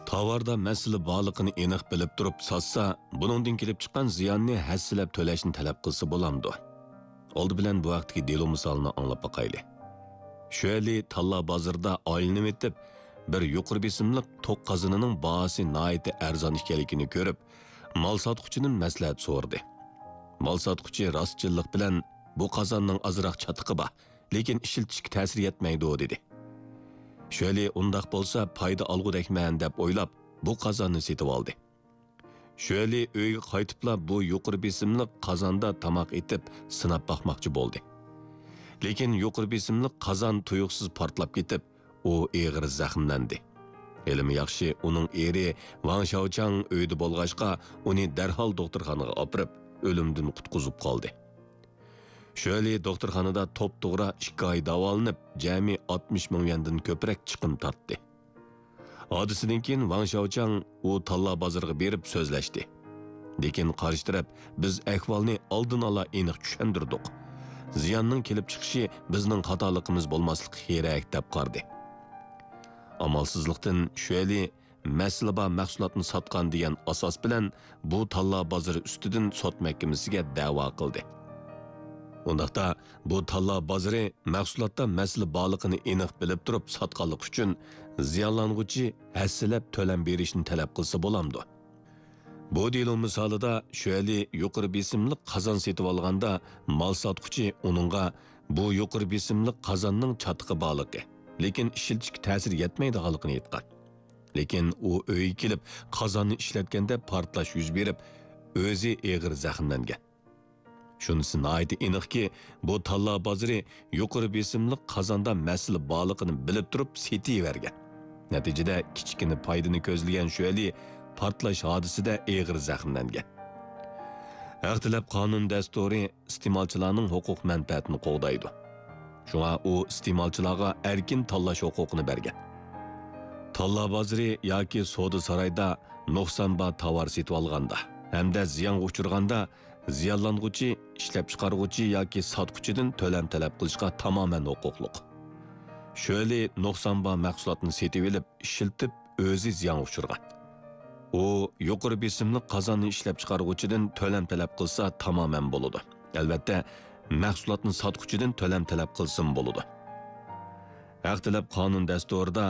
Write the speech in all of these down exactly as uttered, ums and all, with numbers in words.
تاۋاردا مەسىلە بارلىقىنى ئېنىق بىلىپ تۇرۇپ ساتسا، بۇنىڭدىن كېلىپ چىققان زىياننى ھەسسىلەپ تۆلەشنى تەلەپ قىلسا بولامدۇ؟ ئالدى بىلەن بۇ ھەقتىكى دېلو مىسالىنى ئاڭلاپ باقايلى. شۆلى تاللا بازىرىدا ئايلىنىۋېتىپ، بىر يۇقىرى بېسىملىق توك قازىنىنىڭ باھاسى ناھايىتى ئەرزان ئىكەنلىكىنى كۆرۈپ، مال ساتقۇچىدىن مەسلىھەت سورىدى. مال ساتقۇچى راستچىللىق بىلەن، «بۇ قازاننىڭ ئازراق چاتىقى بار، لېكىن ئىشلىتىشكە تەسىرى يەتمەيدۇ» دېدى. شۆلى ئۇنداق بولسا پايدا ئالغۇدەكمەن دەپ ئويلاپ، بۇ قازاننى سېتىۋالدى. شۆلى ئۆيگە قايتىپلا بۇ يۇقىرى بېسىملىق قازاندا تاماق ئېتىپ سىناپ باقماقچى بولدى. لېكىن يۇقىرى بېسىملىق قازان تۇيۇقسىز پارتلاپ كېتىپ، ئۇ ئېغىر زەخىملەندى. ھېلىمۇ ياخشى، ئۇنىڭ ئېرى ۋاڭ شياۋچاڭ ئۆيدە بولغاچقا، ئۇنى دەرھال دوختۇرخانىغا ئاپىرىپ، ئۆلۈمدىن قۇتقۇزۇپ قالدى. شۆلى دوختۇرخانىدا توپتوغرا ئىككى ئاي داۋالىنىپ، جەمئىي ئاتمىش مىڭ يۈەندىن كۆپرەك چىقىم تارتتى. ھادىسىدىن كېيىن ۋاڭ شياۋچاڭ ئۇ تاللا بازىرىغا بېرىپ سۆزلەشتى. لېكىن قارشى تەرەپ، «بىز ئەھۋالنى ئالدىن ئالا ئېنىق چۈشەندۈردۇق. زىياننىڭ كېلىپ چىقىشى بىزنىڭ خاتالىقىمىز بولماسلىقى كېرەك» دەپ قارىدى. ئامالسىزلىقتىن شۆلى مەسىلە بار مەھسۇلاتنى ساتقان دېگەن ئاساس بىلەن بۇ تاللا بازىرى ئۈستىدىن سوت مەھكىمىسىگە دەۋا قىلدى. ئۇنداقتا، بۇ تاللا بازىرى مەھسۇلاتتا مەسىلە بارلىقىنى ئېنىق بىلىپ تۇرۇپ ساتقانلىقى ئۈچۈن زىيانلانغۇچى ھەسسىلەپ تۆلەم بېرىشنى تەلەپ قىلسا بولامدۇ؟ بۇ دېلو مىسالىدا شۆلى يۇقىرى بېسىملىق قازان سېتىۋالغاندا، مال ساتقۇچى ئۇنىڭغا «بۇ يۇقىرى بېسىملىق قازاننىڭ چاتىقى بارلىقى، لېكىن ئىشلىتىشكە تەسىرى يەتمەيدىغانلىقىنى» ئېيتقان. لېكىن ئۇ ئۆيگە كېلىپ، قازاننى ئىشلەتكەندە پارتلاش يۈز بېرىپ، ئۆزى ئېغىر زەخىملەنگەن. شۇنىسى ناھايىتى ئېنىقكى، بۇ تاللا بازىرى يۇقىرى بېسىملىق قازاندا مەسىلە بارلىقىنى بىلىپ تۇرۇپ سېتىۋەرگەن. نەتىجىدە، كىچىككىنە پايدىنى كۆزلىگەن شۆلى پارتلاش ھادىسىسىدە ئېغىر زەخىملەنگەن. ھەق تەلەپ قانۇن دەستۇرى ئىستېمالچىلارنىڭ ھوقۇق مەنپەئەتىنى قوغدايدۇ. شۇڭا ئۇ ئىستېمالچىلارغا ئەركىن تاللاش ھوقۇقىنى بەرگەن. تاللا بازىرى ياكى سودا سارايدا نۇقسان بار تاۋار سېتىۋالغاندا ھەمدە زىيانغا ئۇچرىغاندا، زىيانلانغۇچى ئىشلەپچىقارغۇچى ياكى ساتقۇچىدىن تۆلەم تەلەپ قىلىشقا تامامەن ھوقۇقلۇق. شۆلى نۇقسان بار مەھسۇلاتنى سېتىۋېلىپ، ئىشلىتىپ، ئۆزى زىيانغا ئۇچرىغان. ئۇ يۇقىرى بېسىملىق قازاننى ئىشلەپچىقارغۇچىدىن تۆلەم تەلەپ قىلسا تامامەن بولىدۇ. ئەلۋەتتە، مەھسۇلاتنى ساتقۇچىدىن تۆلەم تەلەپ قىلسىمۇ بولىدۇ. ھەق تەلەپ قانۇن دەستۇرىدا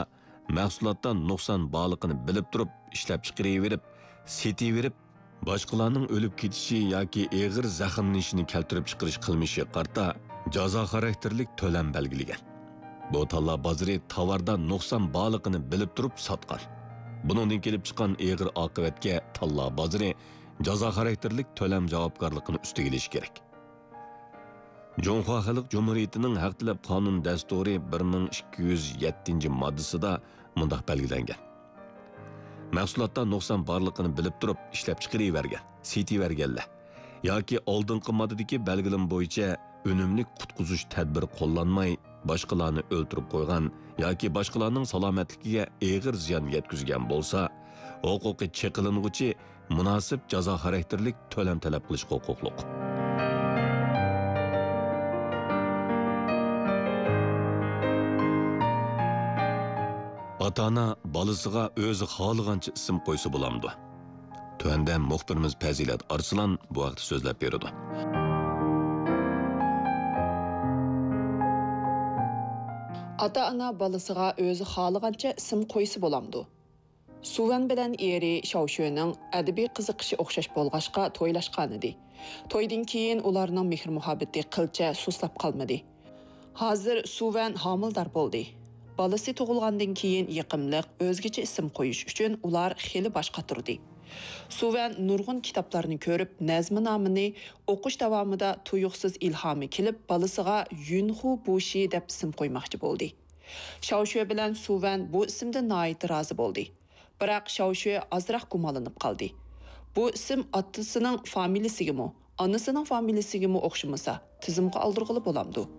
مەھسۇلاتتا نۇقسان بارلىقىنى بىلىپ تۇرۇپ ئىشلەپچىقىرىۋېرىپ، سېتىۋېرىپ، باشقىلارنىڭ ئۆلۈپ كېتىشى ياكى ئېغىر زەخىملىنىشىنى كەلتۈرۈپ چىقىرىش قىلمىشىغا قارىتا جازا خاراكتېرلىك تۆلەم بەلگىلىگەن. بۇ تاللا بازىرى تاۋاردا نۇقسان بارلىقىنى بىلىپ تۇرۇپ ساتقان. بۇنىڭدىن كېلىپ چىققان ئېغىر ئاقىۋەتكە تاللا بازىرى جازا خاراكتېرلىك تۆلەم جاۋابكارلىقىنى ئۈستىگە ئېلىشى كېرەك. جۇڭخۇا خەلق جۇمھۇرىيىتىنىڭ ھەق تەلەپ قانۇن دەستۇرى بىر مىڭ ئىككى يۈز يەتتىنچى ماددىسىدا مۇنداق بەلگىلەنگەن: مەھسۇلاتتا نۇقسان بارلىقىنى بىلىپ تۇرۇپ ئىشلەپچىقىرىۋەرگەن، سېتىۋەرگەنلەر ياكى ئالدىنقى ماددىدىكى بەلگىلىمە بويىچە ئۈنۈملۈك قۇتقۇزۇش تەدبىرى قوللانماي، باشقىلارنى ئۆلتۈرۈپ قويغان ياكى باشقىلارنىڭ سالامەتلىكىگە ئېغىر زىيان يەتكۈزگەن بولسا، ھوقۇقى چېقىلىنغۇچى مۇناسىپ جازا خاراكتېرلىك تۆلەم تەلەپ قىلىشقا ھوقۇقلۇق. ئاتا-ئانا بالىسىغا ئۆزى خالىغانچە ئىسىم قويسا بولامدۇ؟ تۆۋەندە مۇخبىرىمىز پەزىلەت ئارسلان بۇ ھەقتە سۆزلەپ بېرىدۇ. ئاتا-ئانا بالىسىغا ئۆزى خالىغانچە ئىسىم قويسا بولامدۇ؟ سۇۋەن بىلەن ئېرى شاۋشۆنىڭ ئەدەبىي قىزىقىشى ئوخشاش بولغاچقا تويلاشقانىدى. تويدىن كېيىن ئۇلارنىڭ مېھىر-مۇھەببىتى قىلچە سۇسلاپ قالمىدى. ھازىر سۇۋەن ھامىلىدار بولدى. بالىسى تۇغۇلغاندىن كېيىن يېقىملىق، ئۆزگىچە ئىسىم قويۇش ئۈچۈن ئۇلار خېلى باش قاتۇردى. سۇۋەن نۇرغۇن كىتابلارنى كۆرۈپ، نەزمىنامىنى ئوقۇش داۋامىدا تۇيۇقسىز ئىلھامى كېلىپ، بالىسىغا يۈنخۇ بۇشى دەپ ئىسىم قويماقچى بولدى. شاۋشۆ بىلەن سۇۋەن بۇ ئىسىمدىن ناھايىتى رازى بولدى. بىراق شاۋشۆ ئازراق گۇمانلىنىپ قالدى. بۇ ئىسىم ئاتىسىنىڭ فامىلىسىگىمۇ، ئانىسىنىڭ فامىلىسىگىمۇ ئوخشىمىسا، تىزىمغا ئالدۇرغىلى بولامدۇ؟